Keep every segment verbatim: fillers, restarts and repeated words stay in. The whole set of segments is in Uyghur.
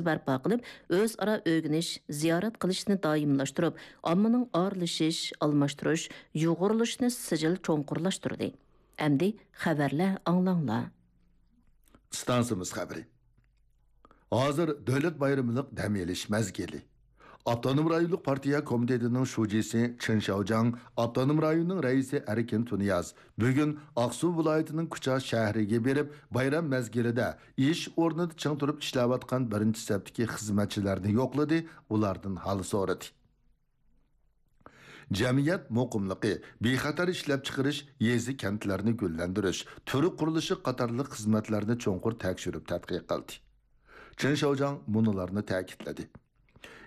بەرپا قىلىپ، ئۆزئارا ئۆگىنىش، زىيارەت قىلىشنى دائىملاشتۇرۇپ، ئاممىنىڭ ئارىلىشىش، ئالماشتۇرۇش، يۇغۇرۇلۇشىنى سىجىل چوڭقۇرلاشتۇردى. ئەمدى خەۋەرلەر ئاڭلاڭلار. ئىستانسىمىز خەۋىرى. ھازىر دۆلەت بايرىملىق دەم ئېلىش مەزگىلى. ئاپتونوم رايونلۇق پارتىيە كومىتېتىنىڭ شۇجىسى چېن شياۋجياڭ، ئاپتونوم رايوننىڭ رەئىسى ئەركىن تۇنىياز بۈگۈن ئاقسۇ ۋىلايىتىنىڭ كۇچا شەھىرىگە بېرىپ، بايرام مەزگىلىدە ئىش ئورنىدا چىڭ تۇرۇپ ئىشلەۋاتقان بىرىنچى سەپتىكى خىزمەتچىلەرنى يوقلىدى، ئۇلاردىن ھال سورىدى. جەمئىيەت مۇقىملىقى، بىخەتەر ئىشلەپچىقىرىش، يېزا، كەنتلەرنى گۈللەندۈرۈش، تۈر قۇرۇلۇشى قاتارلىق خىزمەتلەرنى چوڭقۇر تەكشۈرۈپ تەتقىق قىلدى. چېن شياۋجياڭ مۇنۇلارنى تەكىتلىدى: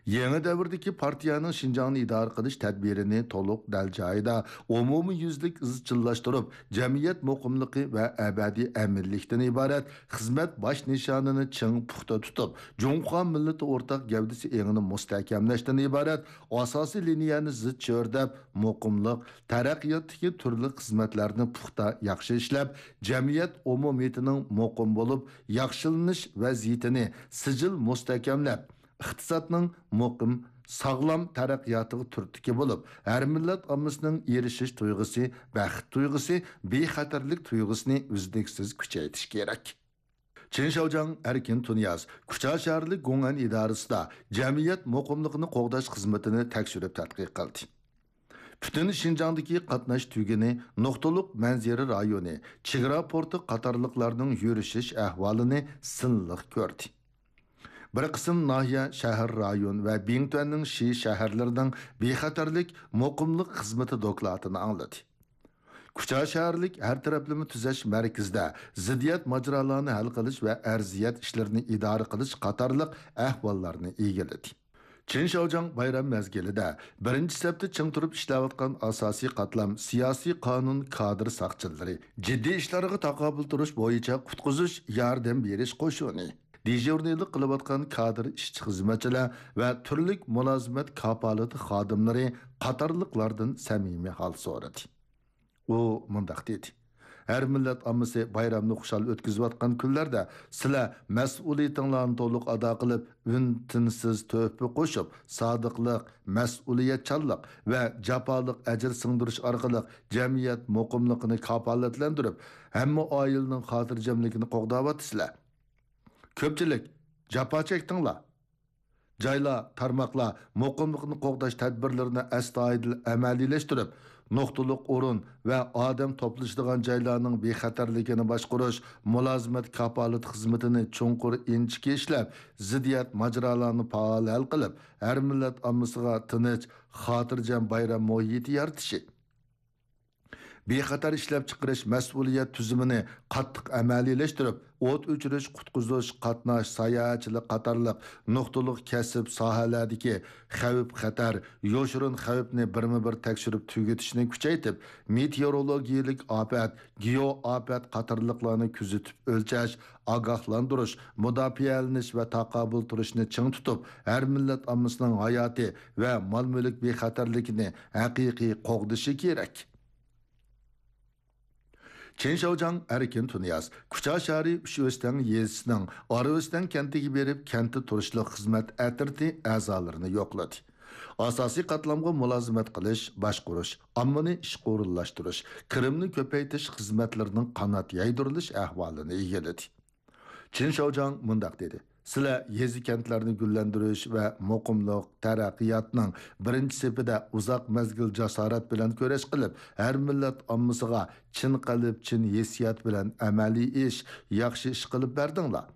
يېڭى دەۋردىكى پارتىيەنىڭ شىنجاڭنى ئىدارە قىلىش تەدبىرىنى تولۇق دەل جايىدا، ئومۇميۈزلۈك ئىزچىللاشتۇرۇپ، جەمئىيەت مۇقىملىقى ۋە ئەبەدىي ئەمىنلىكتىن ئىبارەت خىزمەت باش نىشانىنى چىڭ پۇختا تۇتۇپ، جۇڭخۇا مىللىتى ئورتاق گەۋدىسى ئېڭىنى مۇستەھكەملەشتىن ئىبارەت ئاساسىي لىنىيەنى زىچ چۆرىدەپ، مۇقىملىق، تەرەققىياتتىكى تۈرلۈك خىزمەتلەرنى پۇختا، ياخشى ئىشلەپ، جەمئىيەت ئومۇمىيىتىنىڭ مۇقىم بولۇپ ياخشىلىنىش ۋەزىيىتىنى سىجىل مۇستەھكەملەپ، ئىقتىسادنىڭ مۇقىم، ساغلام تەرەققىياتىغا تۈرتكە بولۇپ، ھەر مىللەت ئاممىسىنىڭ ئېرىشىش تۇيغۇسى، بەخت تۇيغۇسى، بىخەتەرلىك تۇيغۇسىنى ئۈزلۈكسىز كۈچەيتىش كېرەك. چېن شياۋجياڭ، ئەركىن تۇنىياز كۇچا شەھەرلىك گوڭئەن ئىدارىسىدا جەمئىيەت مۇقىملىقىنى قوغداش خىزمىتىنى تەكشۈرۈپ تەتقىق قىلدى. پۈتۈن شىنجاڭدىكى قاتناش تۈگۈنى، نۇقتىلىق مەنزىرە رايونى، چېگرا پورتى قاتارلىقلارنىڭ يۈرۈشۈش ئەھۋالىنى سىنلىق كۆردى. بىر قىسىم ناھىيە، شەھەر، رايون ۋە بىڭتۈەننىڭ شى شەھەرلىرىنىڭ بىخەتەرلىك، مۇقىملىق خىزمىتى دوكلاتىنى ئاڭلىدى. كۇچا شەھەرلىك ھەر تەرەپلىمە تۈزەش مەركىزىدە زىددىيەت ماجىرالارنى ھەل قىلىش ۋە ئەرزىيەت ئىشلىرىنى ئىدارە قىلىش قاتارلىق ئەھۋاللارنى ئىگىلىدى. چېن شياۋجياڭ بايرام مەزگىلىدە بىرىنچى سەپتە چىڭ تۇرۇپ ئىشلەۋاتقان ئاساسىي قاتلام، سىياسىي قانۇن، كادىر ساقچىلىرى، جىددىي ئىشلارغا تاقابىل تۇرۇش بويىچە قۇتقۇزۇش، ياردەم بېرىش قوشۇنى، دىژورنىيلىق قىلىۋاتقان كادىر ئىشچى-خىزمەتچىلەر ۋە تۈرلۈك مۇلازىمەت كاپالىتى خادىملىرى قاتارلىقلاردىن سەمىمىي ھال سورىدى. ئۇ مۇنداق دېدى: ھەر مىللەت ئاممىسى بايرامنى خۇشال ئۆتكۈزۈۋاتقان كۈنلەردە سىلەر مەسئۇلىيىتىڭلارنى تولۇق ئادا قىلىپ، ئۈن-تىنسىز تۆھپە قوشۇپ، سادىقلىق، مەسئۇلىيەتچانلىق ۋە جاپالىق ئەجىر سىڭدۈرۈش ئارقىلىق جەمئىيەت مۇقىملىقىنى كاپالەتلەندۈرۈپ، ھەممە ئائىلىنىڭ خاتىرجەملىكىنى قوغداۋاتىسىلەر. كۆپچىلىك جاپا چەكتىڭلار. جايلار، تارماقلار مۇقىملىقنى قوغداش تەدبىرلىرىنى ئەستايىدىل ئەمەلىيلەشتۈرۈپ، نۇقتىلىق ئورۇن ۋە ئادەم توپلىشىدىغان جايلارنىڭ بىخەتەرلىكىنى باشقۇرۇش، مۇلازىمەت كاپالىتى خىزمىتىنى چوڭقۇر ئىنچىكە ئىشلەپ، زىددىيەت ماجىرالارنى پائال ھەل قىلىپ، ھەر مىللەت ئاممىسىغا تىنچ، خاتىرجەم بايرام مۇھىتى يارىتىشى. بىخەتەر ئىشلەپچىقىرىش مەسئۇلىيەت تۈزۈمىنى قاتتىق ئەمەلىيلەشتۈرۈپ، ئوت ئۆچۈرۈش، قۇتقۇزۇش، قاتناش، ساياھەتچىلىك قاتارلىق نۇقتىلىق كەسىپ ساھەلەردىكى خەۋپ-خەتەر، يوشۇرۇن خەۋپنى بىرمۇبىر تەكشۈرۈپ تۈگىتىشنى كۈچەيتىپ، مېتېئورولوگىيەلىك ئاپەت، گېئو ئاپەت قاتارلىقلارنى كۆزىتىپ ئۆلچەش، ئاگاھلاندۇرۇش، مۇداپىئەلىنىش ۋە تاقابىل تۇرۇشنى چىڭ تۇتۇپ، ھەر مىللەت ئاممىسىنىڭ ھاياتى ۋە مال-مۈلۈك بىخەتەرلىكىنى ھەقىقىي قوغدىشى كېرەك. چېن شياۋجياڭ، ئەركىن تۇنىياز كۇچا شەھىرى ئۈچ ئۆستەڭ يېزىسىنىڭ ئارا ئۆستەڭ كەنتىگە بېرىپ، كەنتتە تۇرۇشلۇق خىزمەت ئەترىتى ئەزالىرىنى يوقلىدى. ئاساسىي قاتلامغا مۇلازىمەت قىلىش، باشقۇرۇش، ئاممىنى ئىشقا ئورۇنلاشتۇرۇش، كىرىمنى كۆپەيتىش خىزمەتلىرىنىڭ قانات يايدۇرۇلۇش ئەھۋالىنى ئىگىلىدى. چېن شياۋجياڭ مۇنداق دېدى: سىلەر يېزا-كەنتلەرنى گۈللەندۈرۈش ۋە مۇقىملىق، تەرەققىياتنىڭ بىرىنچى سېپىدە ئۇزاق مەزگىل جاسارەت بىلەن كۈرەش قىلىپ، ھەر مىللەت ئاممىسىغا چىن قەلب، چىن ھېسسىيات بىلەن ئەمەلىي ئىش، ياخشى ئىش قىلىپ بەردىڭلار.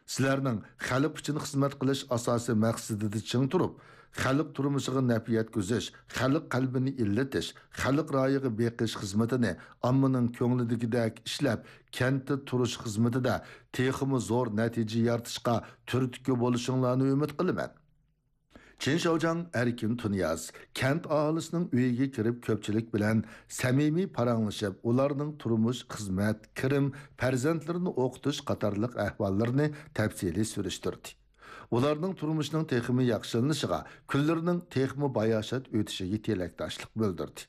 سىلەرنىڭ خەلق ئۈچۈن خىزمەت قىلىش ئاساسىي مەقسىتىدە چىڭ تۇرۇپ، خەلق تۇرمۇشىغا نەپ يەتكۈزۈش، خەلق قەلبىنى ئىللىتىش، خەلق رايىغا بېقىش خىزمىتىنى ئاممىنىڭ كۆڭلىدىكىدەك ئىشلەپ، كەنتتە تۇرۇش خىزمىتىدە تېخىمۇ زور نەتىجە يارىتىشقا تۈرتكە بولۇشۇڭلارنى ئۈمىد قىلىمەن. چېن شياۋجياڭ، ئەركىن تۇنىياز كەنت ئاھالىسىنىڭ ئۆيىگە كىرىپ، كۆپچىلىك بىلەن سەمىمىي پاراڭلىشىپ، ئۇلارنىڭ تۇرمۇش، خىزمەت، كىرىم، پەرزەنتلىرىنى ئوقۇتۇش قاتارلىق ئەھۋاللىرىنى تەپسىلىي سۈرۈشتۈردى. ئۇلارنىڭ تۇرمۇشىنىڭ تېخىمۇ ياخشىلىنىشىغا، كۈنلىرىنىڭ تېخىمۇ باياشات ئۆتۈشىگە تىلەكداشلىق بىلدۈردى.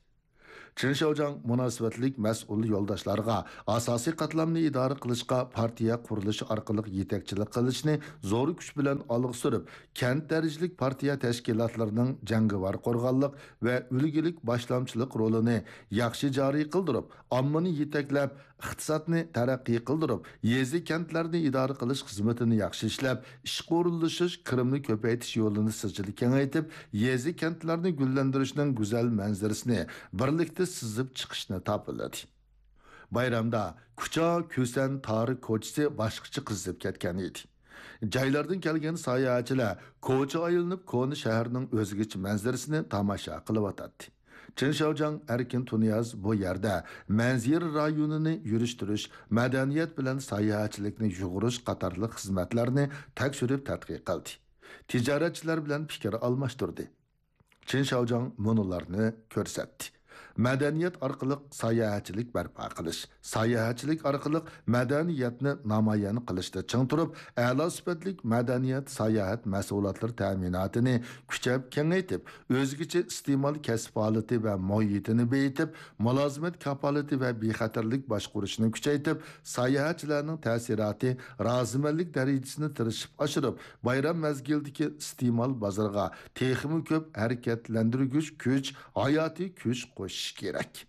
چېن شياۋجياڭ مۇناسىۋەتلىك مەسئۇل يولداشلارغا ئاساسىي قاتلامنى ئىدارە قىلىشقا پارتىيە قۇرۇلۇشى ئارقىلىق يېتەكچىلىك قىلىشنى زور كۈچ بىلەن ئالغا سۈرۈپ، كەنت دەرىجىلىك پارتىيە تەشكىلاتلىرىنىڭ جەڭگىۋار قورغانلىق ۋە ئۈلگىلىك باشلامچىلىق رولىنى ياخشى جارى قىلدۇرۇپ، ئاممىنى يېتەكلەپ، ئىقتىسادنى تەرەققىي قىلدۇرۇپ، يېزا، كەنتلەرنى ئىدارە قىلىش خىزمىتىنى ياخشى ئىشلەپ، ئىشقا ئورۇنلىشىش، كىرىمنى كۆپەيتىش يولىنى سىجىل كېڭەيتىپ، يېزا، كەنتلەرنى گۈللەندۈرۈشنىڭ گۈزەل مەنزىرىسىنى بىرلىكتە سىزىپ چىقىشنى تاپىلىدى. بايرامدا كۇچا، كۈسەن، تارىك كوچىسى باشقىچە قىزىپ كەتكەن ئىدى. جايلاردىن كەلگەن ساياھەتچىلەر كوچا ئايلىنىپ، كونا شەھەرنىڭ ئۆزگىچە مەنزىرىسىنى تاماشا قىلىۋاتاتتى. چېن شياۋجياڭ ئەركىن تۇنىياز بۇ يەردە مەنزىرە رايونىنى يۈرۈشتۈرۈش، مەدەنىيەت بىلەن ساياھەتچىلىكنى يۇغۇرۇش قاتارلىق خىزمەتلەرنى تەكشۈرۈپ تەتقىق قىلدى. تىجارەتچىلەر بىلەن پىكىر ئالماشتۇردى. چېن شياۋجياڭ مۇنۇلارنى كۆرسەتتى. مەدەنىيەت ئارقىلىق ساياھەتچىلىك بەرپا قىلىش، ساياھەتچىلىك ئارقىلىق مەدەنىيەتنى نامايان قىلىشتا چىڭ تۇرۇپ، ئەلا سۈپەتلىك مەدەنىيەت، ساياھەت مەھسۇلاتلىرى تەمىناتىنى كۈچەپ كېڭەيتىپ، ئۆزگىچە ئىستېمال كەسىپ ھالىتى ۋە مۇھىتىنى بېيىتىپ، مۇلازىمەت كاپالىتى ۋە بىخەتەرلىك باشقۇرۇشنى كۈچەيتىپ، ساياھەتچىلەرنىڭ تەسىراتى، رازىمەنلىك دەرىجىسىنى تىرىشىپ ئاشۇرۇپ، بايرام مەزگىلىدىكى ئىستېمال بازىرىغا تېخىمۇ كۆپ ھەرىكەتلەندۈرگۈچ كۈچ، ھاياتىي كۈچ قوشۇش كېرەك.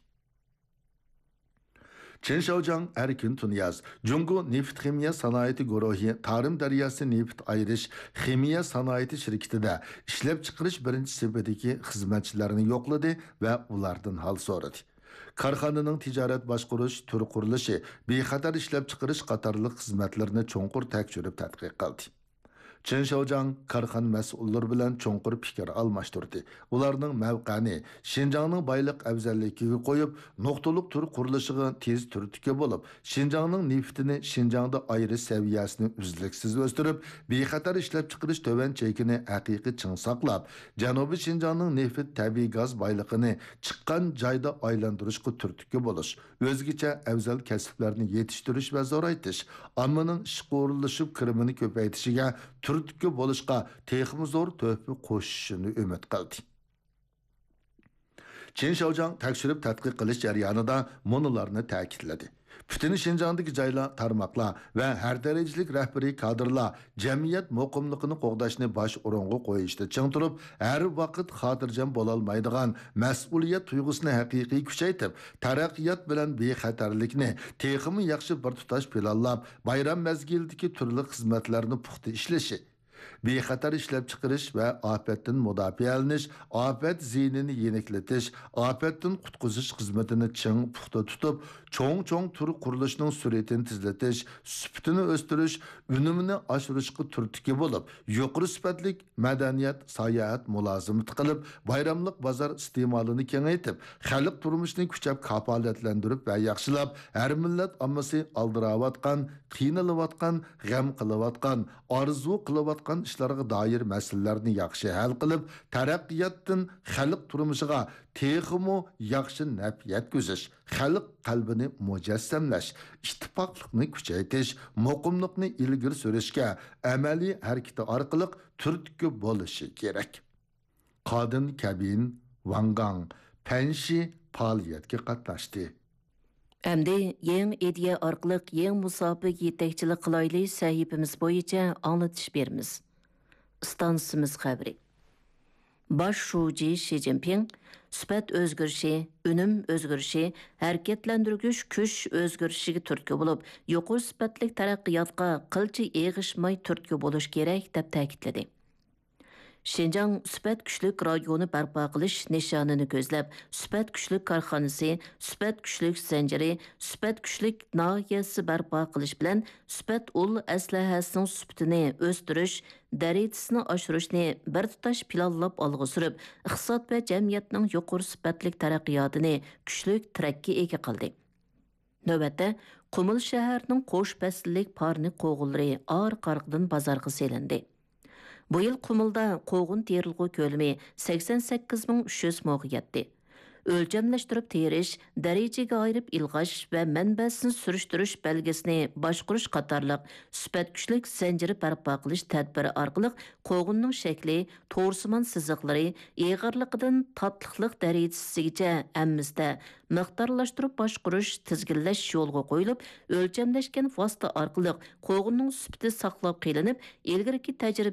چېن شياۋجياڭ ئەركىن تۇنىياز جۇڭگو نېفىت خىمىيە سانائىتى گۇرۇھى تارىم دەرياسى نېفىت ئايرىش خىمىيە سانائىتى شىركىتىدە ئىشلەپچىقىرىش بىرىنچى سېپىدىكى خىزمەتچىلەرنى يوقلىدى ۋە ئۇلاردىن ھال سورىدى. كارخانىنىڭ تىجارەت باشقۇرۇش، تۈر قۇرۇلۇشى، بىخەتەر ئىشلەپچىقىرىش قاتارلىق خىزمەتلىرىنى چوڭقۇر تەكشۈرۈپ تەتقىق قىلدى. چېن شياۋجياڭ كارخانا مەسئۇللىرى بىلەن چوڭقۇر پىكىر ئالماشتۇردى. ئۇلارنىڭ مەۋقەنى شىنجاڭنىڭ بايلىق ئەۋزەللىكىگە قويۇپ، نۇقتىلىق تۈر قۇرۇلۇشىغا تېز تۈرتكە بولۇپ، شىنجاڭنىڭ نېفىتىنى شىنجاڭدا ئايرىش سەۋىيەسىنى ئۈزلۈكسىز ئۆستۈرۈپ، بىخەتەر ئىشلەپچىقىرىش تۆۋەن چېكىنى ھەقىقىي چىڭ ساقلاپ، جەنۇبىي شىنجاڭنىڭ نېفىت، تەبىئىي گاز بايلىقىنى چىققان جايدا ئايلاندۇرۇشقا تۈرتكە بولۇش، ئۆزگىچە ئەۋزەل كەسىپلەرنى يېتىشتۈرۈش ۋە زورايتىش، ئاممىنىڭ ئىشقا ئورۇنلىشىپ كىرىمىنى كۆپەيتىشىگە تۈرتكە بولۇشقا تېخىمۇ زور تۆھپە قوشۇشىنى ئۈمىد قىلدى. چېن شياۋجياڭ تەكشۈرۈپ تەتقىق قىلىش جەريانىدا مۇنۇلارنى تەكىتلىدى. پۈتۈن شىنجاڭدىكى جايلار، تارماقلار ۋە ھەر دەرىجىلىك رەھبىرىي كادىرلار جەمئىيەت مۇقىملىقىنى قوغداشنى باش ئورۇنغا قويۇشتا چىڭ تۇرۇپ، ھەر ۋاقىت خاتىرجەم بولالمايدىغان مەسئۇلىيەت تۇيغۇسىنى ھەقىقىي كۈچەيتىپ، تەرەققىيات بىلەن بىخەتەرلىكنى تېخىمۇ ياخشى بىر تۇتاش پىلانلاپ، بايرام مەزگىلىدىكى تۈرلۈك خىزمەتلەرنى پۇختا ئىشلىشى، بىخەتەر ئىشلەپچىقىرىش ۋە ئاپەتتىن مۇداپىئەلىنىش، ئاپەت زىيىنىنى يېنىكلىتىش، ئاپەتتىن قۇتقۇزۇش خىزمىتىنى چىڭ پۇختا تۇتۇپ، چوڭ-چوڭ تۈر قۇرۇلۇشىنىڭ سۈرئىتىنى تېزلىتىش، سۈپىتىنى ئۆستۈرۈش، ئۈنۈمىنى ئاشۇرۇشقا تۈرتكە بولۇپ، يۇقىرى سۈپەتلىك مەدەنىيەت، ساياھەت مۇلازىمىتى قىلىپ، بايراملىق بازار ئىستېمالىنى كېڭەيتىپ، خەلق تۇرمۇشىنى كۈچەپ كاپالەتلەندۈرۈپ ۋە ياخشىلاپ، ھەر مىللەت ئاممىسى ئالدىراۋاتقان، قىينىلىۋاتقان، غەم قىلىۋاتقان، ئارزۇ قىلىۋاتقان ئىشلارغا دائىر مەسىلىلەرنى ياخشى ھەل قىلىپ، تەرەققىياتتىن خەلق تۇرمۇشىغا تېخىمۇ ياخشى نەپ يەتكۈزۈش، خەلق قەلبىنى مۇجەسسەملەش، ئىتتىپاقلىقنى كۈچەيتىش، مۇقىملىقنى ئىلگىرى سۈرۈشكە ئەمەلىي ھەرىكىتى ئارقىلىق تۈرتكە بولۇشى كېرەك. قادىن كەبىن، ۋاڭ گاڭ، پەنشى پائالىيەتكە قاتناشتى. ئەمدى يېڭى ئىدىيە ئارقىلىق يېڭى مۇساپىگە يېتەكچىلىك قىلايلى سەھىپىمىز بويىچە ئاڭلىتىش بېرىمىز. ئىستانسىمىز خەۋىرى. باش شۇجى شى جىنپىڭ سۈپەت ئۆزگىرىشى، ئۈنۈم ئۆزگىرىشى، ھەرىكەتلەندۈرگۈچ كۈچ ئۆزگىرىشىگە تۈرتكە بولۇپ، يۇقىرى سۈپەتلىك تەرەققىياتقا قىلچە ئېغىشماي تۈرتكە بولۇش كېرەك، دەپ تەكىتلىدى. شىنجاڭ سۈپەت كۈچلۈك رايونى بەرپا قىلىش نىشانىنى كۆزلەپ، سۈپەت كۈچلۈك كارخانىسى، سۈپەت كۈچلۈك زەنجىرى، سۈپەت كۈچلۈك ناھىيەسى بەرپا قىلىش بىلەن، سۈپەت ئۇل ئەسلىھەسىنىڭ سۈپىتىنى ئۆستۈرۈش دەرىجىسىنى ئاشۇرۇشنى بىر تۇتاش پىلانلاپ ئالغا سۈرۈپ، ئىقتىساد ۋە جەمئىيەتنىڭ يۇقىرى سۈپەتلىك تەرەققىياتىنى كۈچلۈك تىرەككە ئىگە قىلدى. نۆۋەتتە، قۇمۇل شەھىرىنىڭ قوش پەسىللىك پارنىك قوغۇنلىرى ئارقا-ئارقىدىن بازارغا سېلىندى. بۇ يىل قۇمۇلدا قوغۇن تېرىلغۇ كۆلىمى سەكسەن سەككىز مىڭ ئۈچ يۈز موغا يەتتى. ئۆلچەملەشتۈرۈپ تېرىش، دەرىجىگە ئايرىپ ئىلغاش ۋە مەنبەسىنى سۈرۈشتۈرۈش بەلگىسىنى باشقۇرۇش قاتارلىق سۈپەت كۈچلۈك زەنجىرى بەرپا قىلىش تەدبىرى ئارقىلىق قوغۇننىڭ شەكلى، تورسىمان سىزىقلىرى، ئېغىرلىقىدىن تاتلىقلىق دەرىجىسىگىچە ھەممىسىدە مىقدارلاشتۇرۇپ باشقۇرۇش، تىزگىنلەش يولغا قويۇلۇپ، ئۆلچەملەشكەن ۋاسىتە ئارقىلىق قوغۇننىڭ سۈپىتى ساقلاپ قېلىنىپ، ئىلگىرىكى تەجرىبىگە